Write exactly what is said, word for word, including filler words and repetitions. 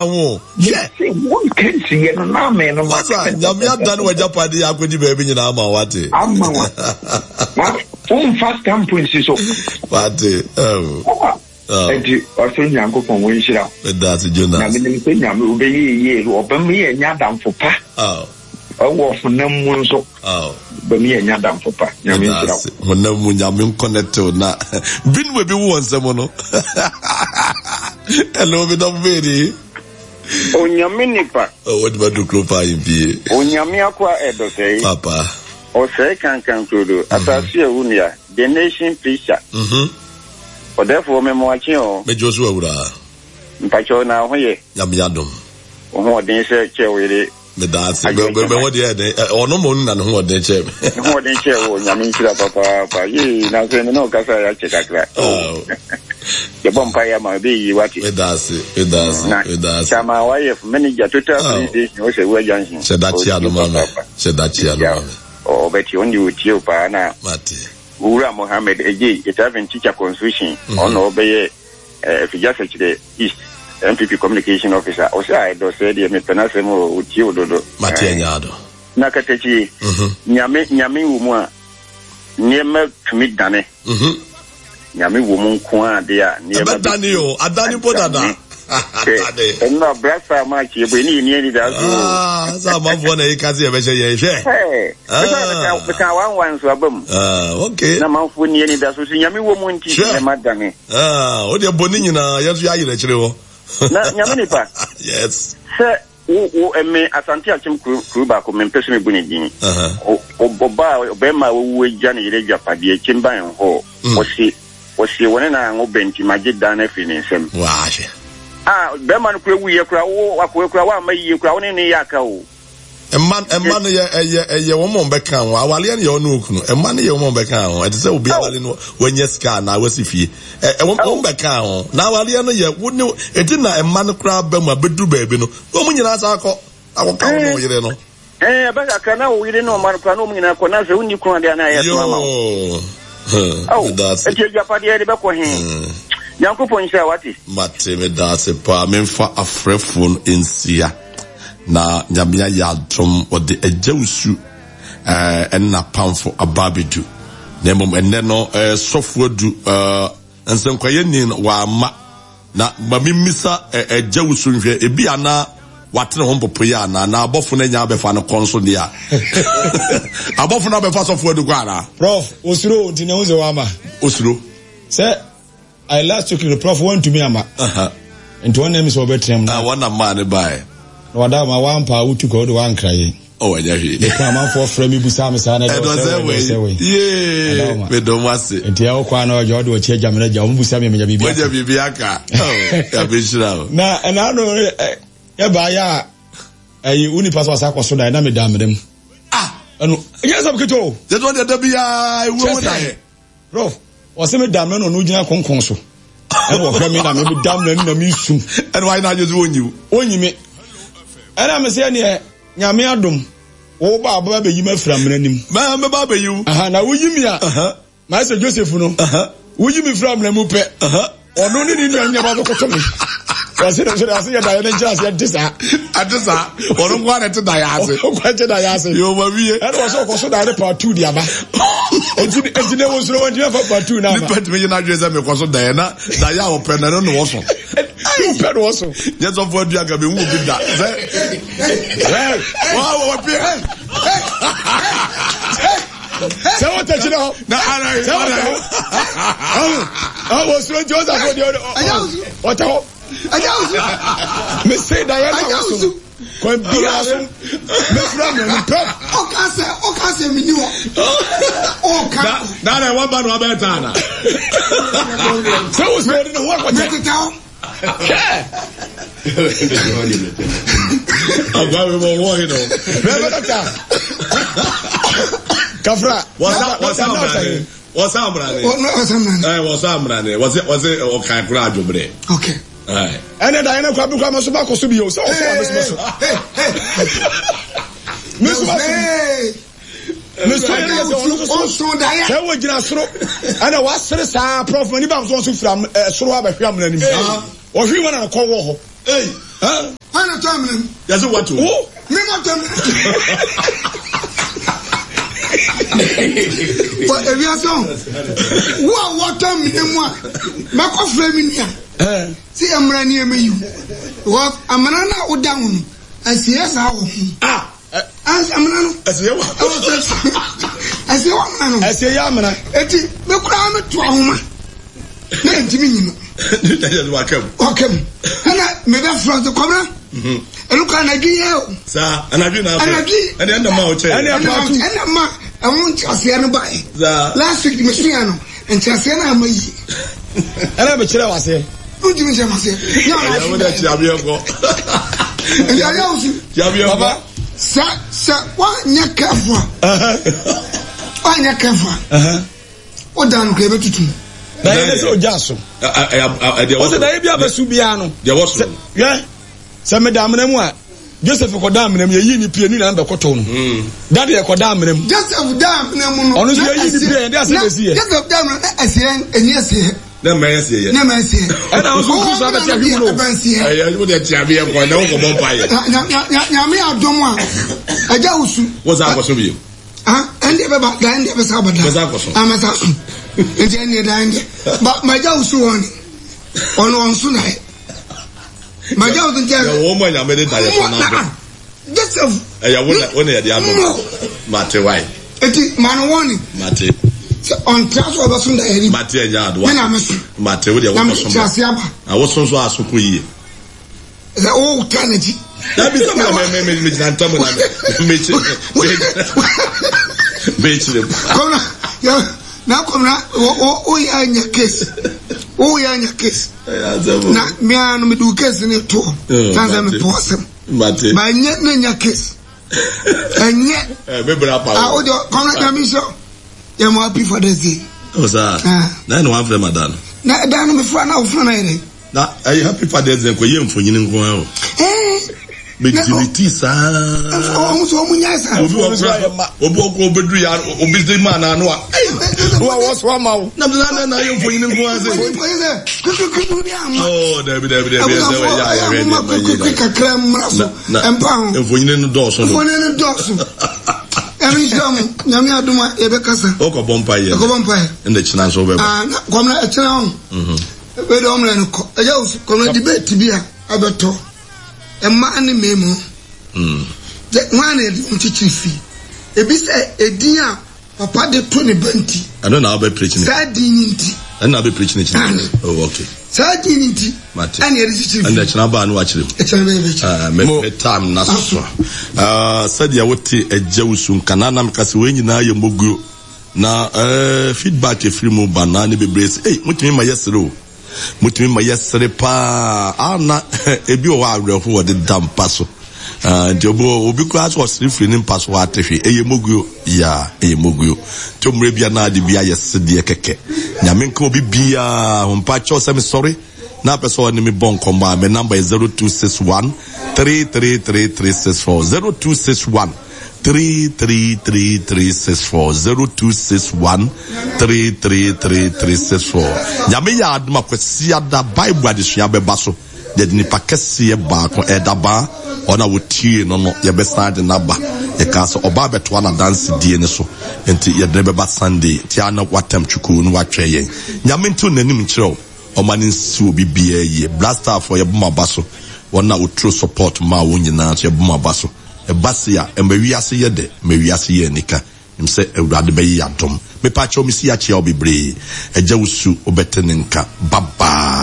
ho. Hwɛ. Mese wonka nsiyɛ no na amen no Masa, Nyame adane w'agyapade yɛ akɔdi baabi nyinaa ama wo, wate. Ama wa. Wa womfa stamp nsi so. Wate. Oh. Oh. Enti ɔsoro Nyankopɔn wo nhyira wo. Meda ase Jonas. Na menim sɛ Nyame wobɛyɛ yie, ɔbɛma yɛ anya adamfo pa. Oh. Ɛwɔ honam mu nso. Oh. Ɔbɛma yɛ anya adamfo pa. Nyame nhyira wo. Honam mu Nyame nkɔnɛtew na binom ebi wo wɔ nsɛm no. Hello, me dɔfo bɛni. Onyame nipa. Oh, what about the kuro paa yi Onyame akwa ɛdɔsɛe. Papa. Ɔsɛe kankan kurodo. Asase a wunua. The Nation Preacher. Mhm. Ɔdɛfoɔ memoakye o. Mɛgye so awura. Mpakyɛw na ho yɛ. Nyame adom. Wo ho ɔden sɛ kyɛ wo yere. Meda ase. Bɛ ho deɛ ɛden. Ɔno mo na ne ho ɔden kyɛ me. Ne ho ɔden kyɛ wo. Nyame nhyira papaapa. Yee na sɛ me ne wo kasa yɛ akyɛ kakra. Yɛbɔ mpa yɛ ama ebe yi wate. Meda ase. Meda ase. Meda ase. Chama wayɛ manager total police station wo sɛ wua junction. Hyɛ da kyia no ma me. Hyɛ da kyia no ma me. Ɔbɛti ɔno deɛ ɔtie wo paa na. Mate. Owura Mohammed Ejei Etaven Teacher Constitution ɔno ɔbɛyɛ Afigya Sɛkyerɛ East N P P Communication Officer. Ɔsɛ a ɛdɔ sɛ deɛ mepɛ n'asɛm o, ɔtie wo dodo. Mate anya ado. Na katakyi, Nyame Nyame wɔ mu a nneɛma tumi dane. Nyame wɔ mu nko a de a nneɛma ɛbɛdane o, adane mpo dada. Adane. Ɛno abrasa ma akyi ebo ɛne yɛni ani da so. Ah, sɛ amanfoɔ na ɛka sɛ yɛbɛhyɛ yɛn hwɛ. Ɛɛ, meka wanwa nso aba mu. Ah, okay. Na amanfoɔ ni ani da so so Nyame wɔ mu nti nneɛma dane. Ah, o deɛ bɔ ne nyinaa yɛn nso yɛayerɛ akyire hɔ. Na Nyame nipa. Yes. Sɛ wo wo ɛme Asante Akyem kuro kuro baako mempɛ sɛ mebu ne din. Ɔbaa ɔbɛrima a wawu agya ne yere agyapadeɛ kyemban hɔ. Ɔse ɔse wɔne na anwo bɛ nti magye dan no afiri ne nsam. Wahwɛ. Ah, bɛrima no kura wuyɛ kura wo akoe kura woamma yie kura wo ne ne yɛ aka o. Mma mma no yɛ ɛyɛ ɛyɛ wɔn a wɔbɛka ho awaleɛ no yɛ ɔne okunu mma no yɛ wɔn a wɔbɛka ho ɛte sɛ obi awale no wɔnyɛ sika anaa wɔasi fie ɛ ɛ wɔn wɔn bɛka ho na awaleɛ no yɛ wo ne eti na mma no koraa ba mu abɛduru baabi no na wɔn nyinaa san akɔ akɔka wɔn ne ɔyere no. Ɛɛ ɛbɛ kakra na wo yere ne ɔma no koraa na wɔn nyinaa kɔ na sɛ wonni kunu adeɛ anaa ɛyɛ soma ma wo. Yoo meda ase. Eti agyapadeɛ de bɛkɔ he? Nyankopɔn nhyira wate. Mate meda ase paa memfa afrɛfoɔ no nsia. Na Nyame ayɛ adom wɔde Agya Wusu ɛne n'apamfo aba abɛdu. Na mmom ɛnnɛ no sɔfo adu nsɛnkwayɛni no wamma. Na ma memmisa Agya Wusu nhwɛ ebi ana watene ho mpopoeɛ anaa na abɔfo no anya abɛfa no kɔ nso deɛ a. Abɔfo no abɛfa sɔfo adu kɔ anaa? Prof, osuro nti na ehu sɛ wama. Osuro. Sɛ I last week no prof wantumi ama. Nti wɔn na mi sɛ ɔbɛtena mu. Na wɔn na maa ne baeɛ. Na wada ma wampa a wotu kɔ wode wankra yɛn. Oh, ɛnyɛ hwee. Mekɔ amanfoɔ frɛ me busaa me saa na ɛdɔ sɛ wei ɛdɔ sɛ wei. Yee, medɔ mo ase. Nti ɛwɔ kɔ ano ɔgya ɔde ɔkyi agya me na gya wɔn busa me menya biribi aka. Wɔnya biribi aka. Oh, yabɛhyira o. Na ɛna ano ɛbaa yɛ a ɛyi wo nipa sɛ ɔsa akɔ so dan na meda mmerɛ mu. Ah! Ɛno ɛnyɛ sɛm ketewa o. Yɛtɔ deɛ da biara ewuo ho dan. Prof, ɔsɛ me da mmerɛ na ɔno gyina konkon so. Ɛna ɔhwɛ me na me da mmerɛ no na me su. Ɛna wayɛ n'adwene sɛ ɔnyi wo. Ɔnyi me. Ɛna me sɛ neɛ Nyame adom, wo ba abɛba abɛyi me afiri amena nim. Mɛ mɛba abɛyi wo. Aha, na woyi me a, mayɛ sɛ Joseph no. Woyi me firi amena mu pɛ. Ɔno ne ne nua nyɛ ba bɛkoto me. Wɔse no nso de ase yɛ daeɛ no nkyerɛ aseɛ nte saa. Ɛte saa. Ɔno nko ara na ɛte daeɛ ase. Ɔno nko ara te daeɛ ase. Yoo ma wie. Ɛna wɔsɛ ɔkɔ so daeɛ no part two de aba. Enti enti na ɛwɔ soro wɔntumi afa part two na ama. Nipa tumi yɛ n'adwene sɛ mekɔ so daeɛ na daeɛ a ɔpɛ no ɛno na wɔso. Ɔpɛ na wɔso. Nyɛ sɔfo adua nka mehu obi da sɛ. Wɔ wɔ pie. Sɛ wɔtɛ kyerɛ hɔ. Na ara sɛ wɔtɛ hɔ. Ɔhun ɔwɔ soro nti ɔsafo deɛ ɔtɛ hɔ. Mese daeɛ na wɔso no. Kwan biara so mɛfira mmienu pɛ. Ɔka sɛ ɔka sɛ meni hɔ. Ɔka. Na na ɛwɔ ba na ɔbɛyɛ taa na. Sɛ wo sɛ ɔde ne ho akɔkyɛ. Mɛteta hɔ. Agba mi mɔ wɔ yi nɔ. Bɛɛ bɛ dɔkita. Kafra. Wɔsa wɔsa amrane. Wɔsa amrane. Wɔsa amrane. Ɛɛ wɔsa amrane. Wɔsɛ wɔsɛ ɔkan kura adwobrɛ. Okay. Ɛnɛ da yɛn kura bi kura ma so ba kɔ so bi o sɛ ɔsɔ wa mesu ma so. Mesu ma so. Mesu yɛ sɛ ɔno nso so sɛ wɔ gyina soro ɛna wasere saa prɔf ma nipa nso nso fira soro abɛhwɛ amena nim. Ɔhwe wɔn na kɔ wɔ hɔ. Hwan na tɔ amena mu? Yɛsɛ wato. Wo. Me ma tɔ amena. Wɔ ewiase ho. Wo a wɔtɔ amena mu a, mɛkɔ frɛ me nua. Sɛ yɛ mmara ni ɛmɛ yi. Wɔ amena no a woda ho no, ɛsɛ saa wɔ ho. Ah. Amena no. Ɛsɛ wɔ. Ɛsɛ wɔ amena no. Ɛsɛ yɛ amena. Eti me koraa me to ahoma. Na ntumi nyi no. Waka mu. Waka mu. Ɛna mebɛ fura sɛ kɔmina. Ɛnu kɔ anadwi yɛ o. Saa anadwi na afɛ. Anadwi. Ɛna ɛna ma ɔkyɛ. Ɛna ɛpaatu. Ɛna ma ɛho nkyerɛseɛ no ba yɛ. Saa. Last week mi sua no nkyerɛseɛ no ama yie. Ɛna bɛ kyerɛ waseɛ. Ntumi nkyerɛ maseɛ. Ɛyɛ wo dɛ kyiabeɛ kɔ. Ɛyɛ ayɛ wo si. Kyiabeɛ kɔ. Papa. Sɛ sɛ woanyɛ careful a. Woanyɛ careful a. O dan no kura ebetutu. Na yɛn sɛ ogya so. O sɛ daeɛ bi a bɛso biara no. Deɛ wɔ so. Hwɛ sɛ meda amena mu a Joseph kɔda amena mu yɛyi ne pie ne nyinaa bɛkɔtɔ no. Dade yɛ kɔda amena mu. Joseph da amena mu no. Ɔno nso yɛyi ne pie yɛde asɛ na esi yɛ. Joseph da amena na ɛsɛ ɛni ɛsɛ yɛ. Na mɛ ɛsɛ yɛ. Na mɛ ɛsɛ yɛ. Ɛna nso nso so abɛte ahwi mu no. Ɛyɛ wo deɛ tia bi yɛ kɔ na wo kɔ bɔ mpa yɛ. Nyame adom a ɛgya wusu. Wọ́n sá akɔso bi. Ah, ɛndeɛ bɛba da ɛndeɛ bɛsa aba da. Bɛsa akɔso. Ah, mɛsa so. Nti ɛndeɛ da ɛndeɛ. Ba magya wusu wɔn ni. Ɔno ɔnso na yɛ. Magya wusu nti ɛyɛ. Wɔn mu anyame de da yɛ kɔn n'ado. Joseph. Ɛyɛ wo na wo na yɛde adom. Mate wae. Eti maa no wɔn ni. Mate. Sɛ ɔntra so ɔbɛso da yɛ ni. Mate ɛnyɛ adoa. Me na me so. Mate wo deɛ Na me wokɔ so kyerɛ ase aba. Na woso nso aso kɔ yie. Sɛ o ta n'akyi. Dabi sɛ me me me me gyina ntam na me me kyerɛ me kyerɛ mu. Kɔmna yɛ na kɔmna o o o yɛ anya case o yɛ anya case na mmea no me do case ne to na sɛ me pɔ asɛm Mate. ba nyɛ ne nya case ɛnyɛ Ɛ me bra pa. a o de kɔmna nyame nhyɛ yɛ mo happy father's day. O saa. Na ɛna wɔn afrɛ ma da no. Na ɛda no me fura na ofura na yɛ dɛ. Na ɛyɛ happy father's day nkɔ yɛ mfonyini nko ara o. Ɛɛ. Me delete saa. Ɔmo sɛ ɔmo nya saa. Obi wɔ kura obi wɔ kura obeduru ya obi de ma na ano a. Wo a wɔso ama wo. Na na na na yɛ mfonyini nko ara sɛ. Mfonyini sɛ kukukuku bi ama. Oh dabi dabi dabi ɛsɛ wɔ yɛ ayɛ hwɛ deɛ ma yi. Kakra mmra so ɛmpa ho. Mfonyini no dɔɔso. Mfonyini no dɔɔso. Ɛmi nhyira mo nyame adum a yɛbɛkasa. Ɔkɔ bɔ mpa yɛ. Ɛkɔ bɔ mpa yɛ. Ɛna kyina nso bɛba. Ah na kɔmna ɛkyina ho. Wei de ɔmmerɛ no kɔ. Ɛgya wo kɔmna debate bi a ɛbɛtɔ. Mmaa ne mmarima. Gye hwan na yɛde wɔn kyekyere fi? Ebi sɛ edin a papa de to ne ba nti. Ɛno na wobɛ preach ne. Saa din ni nti. Ɛno na wobɛ preach ne kyerɛ. Oh okay. Saa din ni nti. Mate. Ɛna yɛde kyekyere fi. Ɛna kyerɛ baa no wakyerɛ mu. Ɛkyerɛ bɛyɛ bɛkyerɛ. Ah, me me time na so. Ah, sɛdeɛ wote ɛgya wo su nka na na meka sɛ wei nyinaa yɛ moguo. Na eh, feedback efiri mu ba na ne bebree sɛ, ei, motumi ma yɛsere o. Motumi ma yɛsere paa. Ah, na ebi wɔ hɔ awerɛho wɔde da mpa so. Ah, nti obi obi koraa sɛ ɔsere firi ne mpa so hɔ ate hwee. Ɛyɛ moguo. Ya, ɛyɛ moguo. Nti mmerɛ bia na ade bi ayɛ sedeɛ kɛkɛ. Nyame nka obi biara ho mpa kyɛw sɛ mesɔre na apɛ sɛ ɔne me bɔ nkɔmmɔ a, me number yɛ zero two six one three three three three six four zero two six one three three three three six four zero two six one three three three three six four. Nyame yɛ adom a Kwasiada Bible adesua bɛba so. Yɛde nipa kɛseɛ baako ɛda baa ɔno a wɔtie no no yɛbɛsan de n'aba. Yɛkaa sɛ ɔbaa bɛtoa n'adansedie no so nti yɛde no bɛba Sunday. Nti a na watam twukuu no watwɛn yɛn. Nyame nto n'anim nkyerɛ wo. Ɔma no nsi obi biara yie. Black Starfoɔ yɛbɔ mo aba so. Wɔn a wɔturo support maa wɔn nyinaa nso yɛbɔ mo aba so. Ɛba se a, ɛma wiase yɛ dɛ, ma wiase yɛ anika. Nim sɛ Awurade bɛyɛ yɛn adom. Mepa kyɛw mesi akyea wo bebree. Agya wo su wobɛte ne nka. Bye bye.